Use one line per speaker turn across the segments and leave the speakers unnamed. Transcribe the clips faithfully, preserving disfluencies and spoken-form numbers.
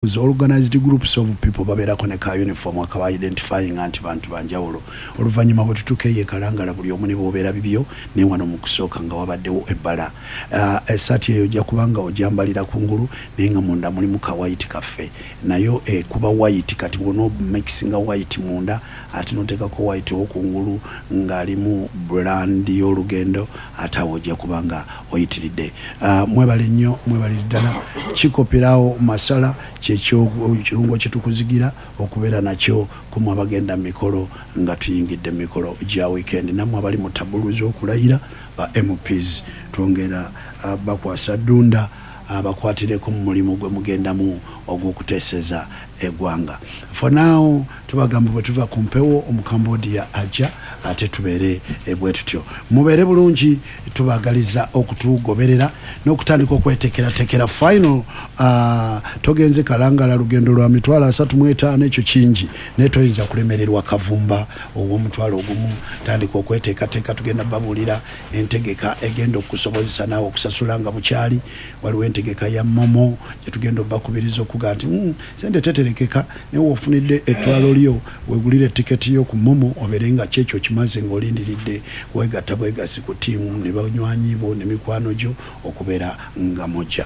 Organized groups of people babeerako ne ka uniform akaba identifying nti bantu banjawulo. Oluvannyuma bwe tutuuka eyo e Kalangala, buli omu ne bwobeera bibyo, naye wano mu kusooka nga wabaddewo ebbala. uh, essaati eyo ojja kubanga ogyambalira kungulu, naye nga munda mulimu ka white kaffe, nayo ekuba white. Kati bwona mixinga white munda ate noteekako white owokungulu ng'alimu brand y'olugendo, ate awo ojja kubanga oyitiridde. uh, mwebale nnyo, mwebalire ddala. Kikoperawo masala kyekyo kirungo kyetukuzigira okubeera nakyo kumwe abagenda mu mikolo, nga tuyingidde mu mikolo gya weekend. Nammwe abali mu tabulu z'okulayira ba M Ps, twongera uh, bakwasa ddunda abakwatireko mu mulimu gwe mugendamu ogw'okuteeseza eggwanga. For now tubagamba bwe tuva ku mpewo, Omukambodia ajja ate tubeere bwe tutyo. Mubeere bulungi, tubagaliza okutugoberera n'okutandika okwetekeratekera final. uh, togenze Kalangala, lugendo lwa mitwalo asatu mu etaano, ekyo kingi, naye toyinza kulemererwa kavumba ow'omutwalo ogumu. Tandika okweteekateeka, tugenda babuulira entegeka egenda okukusobozesa naawe okusasula nga bukyali. Waliwo entegeka ya MoMo gyetugenda obakubiriza okuga nti mm, sente teterekeka, naye wofunidde ettwalo lyo wegulire tiketi yo ku MoMo, obeere nga kyekyo kimaze ng'olindiridde wegatta bwegasi ku ttiimu ne banywanyi bo ne mikwano gyo okubeera nga mujja.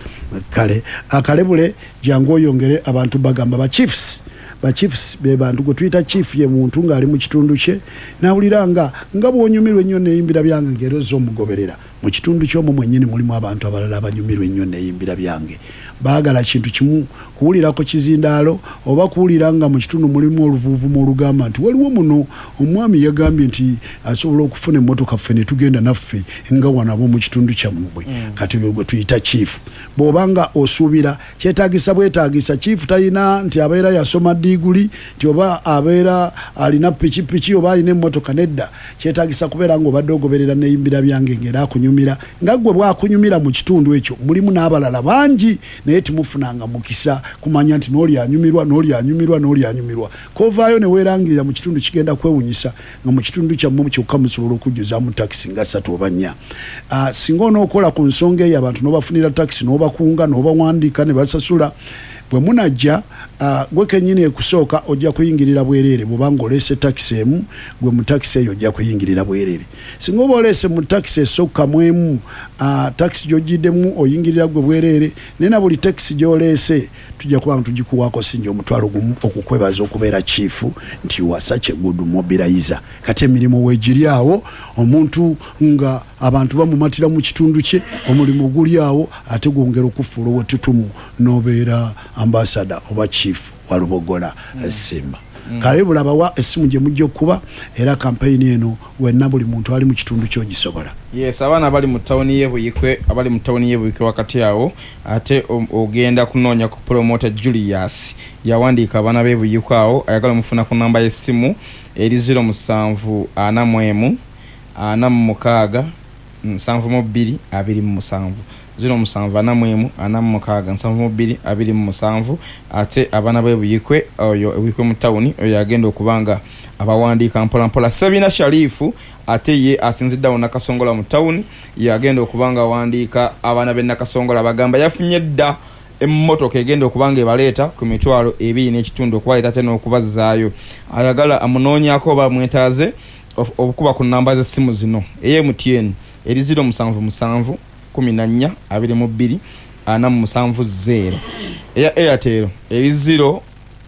Kale akalebule, jangu oyongere abantu. Bagamba ba chiefs, ba chiefs be bantu gwe tuyita chief, ye muntu ng'ali mu kitundu kye nawulira nga nga bw'onyumirwa ennyo neeyimbira byange, ng'era ozza omugoberera mu kitundu ky'omwo mwennyini. Mulimu abantu abalala abanyumirwa ennyo neeyimbira byange, baagala kintu kimu, kuwulirako kizindaalo oba kuwulira nga mu kitundu mulimu oluvuuvumu olugamba nti waliwo muno omwami yagambye nti asobola okufuna emmotoka ffe ne tugenda naffe nga wano ab'omu kitundu kyammwe mm. Kati oyo gwe tuyita chief. Bw'oba nga osuubira kyetaagisa bwetaagisa, chief talina nti abeera yasoma diiguli, nti oba abeera alina pikipiki oba alina emmotoka, nedda. Kyetaagisa kubeera ng'obadde ogoberera neyimbira byange, ng'era akunyumira nga gwe bwakunyumira. Mu kitundu ekyo mulimu n'abalala bangi, naye timufunanga mukisa kumanya nti n'oli anyumirwa, n'oli anyumirwa, n'oli anyumirwa. Kovaayo ne weerangirira mu kitundu, kigenda kwewunyisa nga mu kitundu kyammwe kyokka musobola okujjuzaamu takisi nga ssatu oba nnya. uh, singa onookola ku nsonga eyo, abantu n'obafunira takisi, n'obakunga, n'obawandiika ne basasula, bwe munajja, uh, gwe kennyini ekusooka ojja kuyingirira bwereere. Bwobanga oleese takisi emu, gwe mu takisi eyo ojja kuyingirira bwereere. Singa oba oleese mu takisi esokkamu emu, uh, takisi gy'ogiddemu oyingirira gwe bwereere, naye na buli takisi gy'oleese tujja kuba nga tugikuwaako sinja omutwalo gumu okukwebaza okubeera chief, nti was such a good mobilizer. Kati emirimu weegiri awo, omuntu nga abantu bamumatira mu kitundu kye, omulimu guli awo, ate gwongera okufuula owettutumu n'obeera ambassador oba chief wa Lubogola mm. Simba mm. Kale bulabawa essimu gye mujja okukuba, era kampeyini eno wenna buli muntu ali mu kitundu kyogisobola.
Yes, abaana abali mu tawuni y'e Buyikwe, abali mu tawuni y'e Buyikwe wakati awo, ate ogenda kunoonya ku promoter Julius, yawandiika abaana b'e Buyikwe awo. Ayagala omufuna ku namba y'essimu eri zero musanvu ana mu emu ana mu mukaaga nsanvu mu bbiri abiri mu musanvu, zero musanvu ana mu emu ana mu mukaaga nsanvu mu bbiri abiri mu musanvu. Ate abaana b'e Buyikwe, oyo Ebuyikwe mu tawuni, oyo agenda okuba nga abawandiika mpolampola. Sebina Sharifu ate ye asinzidde awo Nakasongola mu tawuni, yagenda okuba nga awandiika abaana b'e Nakasongola. Bagamba yafunye dda emmotoka egenda okuba nga ebaleeta ku mitwalo ebiri n'ekitundu okubaleeta ate n'okubazzaayo. Ayagala amunoonyako oba mwetaaze okukuba ku namba z'essimu zino: eya M T N eri zero musanvu musanvu kumi na nnya abiri mu bbiri ana mu musanvu zero, eya Airtel eri zero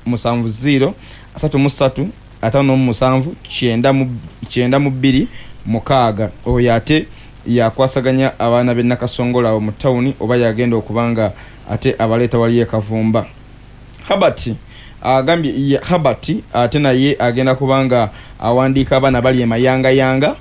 musanvu zero asatu mu ssatu ataano mu musanvu kyenda mu kyenda mu bbiri mukaaga. Oyo ate yakwasaganya abaana b'e Nakasongola awo mu tawuni, oba yagenda okuba nga ate abaleeta wali e Kavumba. Habert agambye, Habert ate naye agenda kuba nga awandiika abaana bali emayangayanga,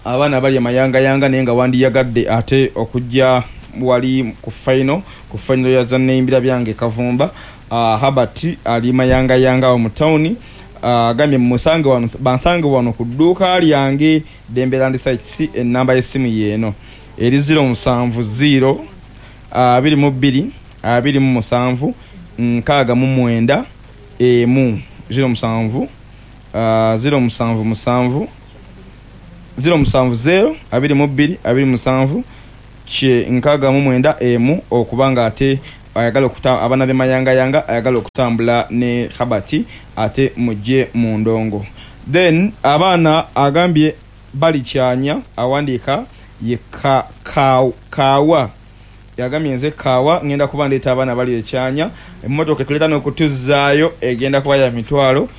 abaana bali emayangayanga, naye nga wandiyagadde ate okujja wali ku final, ku final ya zanneyimbira byange Kavumba. uh, Habert ali mayangayanga awo mu tawuni, agambye uh, musange wano, bansange wano ku dduuka lyange Dembeland Sites. Enamba y'essimu yeeno eri zero musanvu zero abiri mu bbiri abiri mu musanvu nkaaga mu mwenda emu, zero musanvu zero musanvu musanvu zero musanvu zero abiri mu bbiri abiri mu musanvu kye nkaaga mu mwenda emu, okuba nga ate ayagala okuta abaana b'e Mayangayanga ayagala okutambula ne Habati, ate mujje mu ndongo. Then abaana agambye balikyanya, awandiika ye ka, ka, Kaawa, yagambye nze Kaawa ngenda kuba ndeeta abaana bali ekyanya, emmotoka etuleeta n'okutuzaayo egenda kuba ya mitwalo